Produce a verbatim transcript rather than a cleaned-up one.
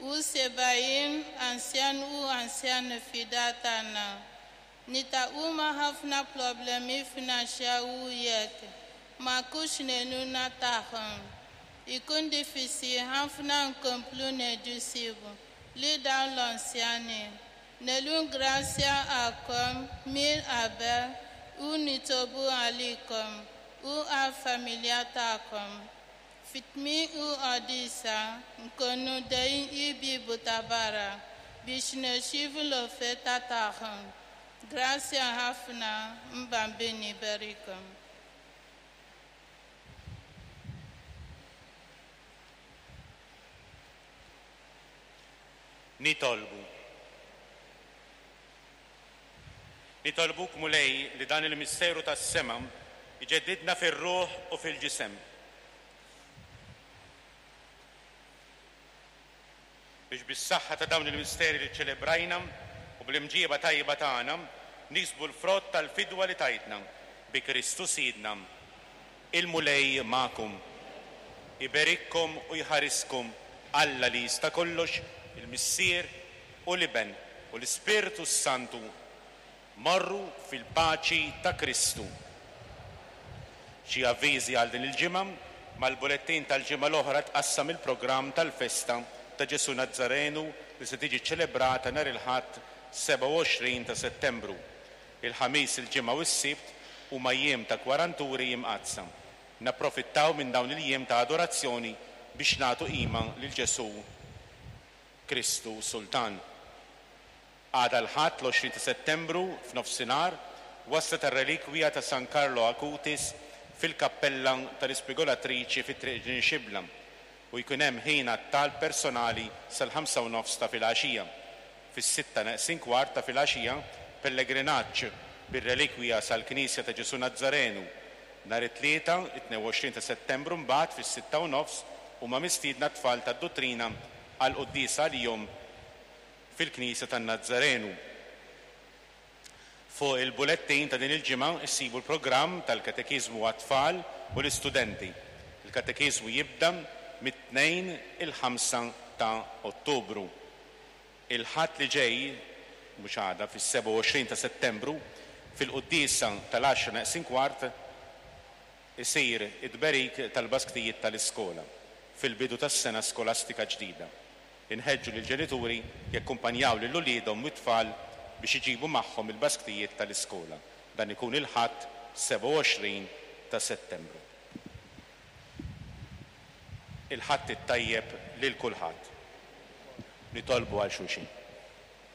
U sebgħin anzjan u anzjan fid-dar tagħna. Niltaqgħu ma' ħafna problemi finanzjarji jekk ma nkunux l-għajnuna tagħhom. Ikun diffiċli ħafna nkomplu nieħdu ħsieb lil dawn l-anzjani. Nirringrazzjakom minn qabel u nitolbu għalikom u għall-familja tagħkom. Fi tmiem il-quddiesa nkunu dejjem il-bieb ta' barra biex nirċievu l-offerta tagħhom. Grazzi ħafna, il-Bambin iberikkom. Nitolbu. Nitolbuk, Mulej, li dan il-misteru tas-sema iġeddidna fir-ruħ u fil-ġisem. Biex bis-saħħa ta' dawn il-misteri li ċelebrajna u bl-imġieba tajba tagħna niksbu l-frott tal-fidwa li tajtna bi Kristu Sidna. Il-Mulej magħkom. Iberikkom u jħariskom Alla li jista' kollox, il-Missier u l-Iben u l-Ispirtu Santu. Morru fil-paċi ta' Kristu. Xi avviżi għal din il-ġimgħa: mal-bulettin tal-ġimgħa l-oħra tqassam il-programm tal-festa ta' Ġesu Nazzarenu li se tiġi ċelebrata nhar il-Ħadd sebgħa u għoxrin ta' Settembru. Il-Ħamis, il-Ġimgħa u s-Sibt huma jiem ta' kwaranturi imqaddsa. Napprofittaw minn dawn il-jiem ta' adorazzjoni biex nagħtu qima lil Ġesu Kristu Sultan. Għada l-Ħadd l-għoxrin ta' Settembru f'nofsinhar waslet ir-relikwija ta' San Carlo Acutis fil-kappella tal-Ispigolatriċi fi Triq Ġnien Xibla u jkun hemm ħin għat-talb personali sal-ħamsa u nofs ta' filgħaxija. Fis-sitta neqsin kwart ta' filgħaxija pellegrinaġġ bir-relikwija sal-Knisja ta' Ġesu Nazzarenu. Nhar it-Tlieta, it-tnejn u għoxrin ta' Settembru, mbagħad fis-sitta u nofs huma mistiedna t-tfal tad-duttrina għal quddiesa għalihom fil-Knisja tan-Nazzarenu. Fuq il-bulettin ta' din il-ġimgħa issibu l-programm tal-katekiżmu għat-tfal u l-istudenti. Il-katekiżmu jibda mit-Tnejn il-ħamsa ta' Ottubru. Il-Ħadd li ġej, mhux għada, fis-sebgħa u għoxrin ta' Settembru, fil-quddiesa tal-għaxra neqsin kwart isir it-tberik tal-basktijiet tal-iskola fil-bidu tas-sena skolastika ġdida. Inħeġġu lill-ġenituri jakkumpanjaw lil uliedhom u t-tfal biex iġibu magħhom il-basktijiet tal-iskola. Dan ikun il-Ħadd sebgħa u għoxrin ta' Settembru. Il-Ħadd it-tajjeb lil kulħadd. Nitolbu għal xulxin.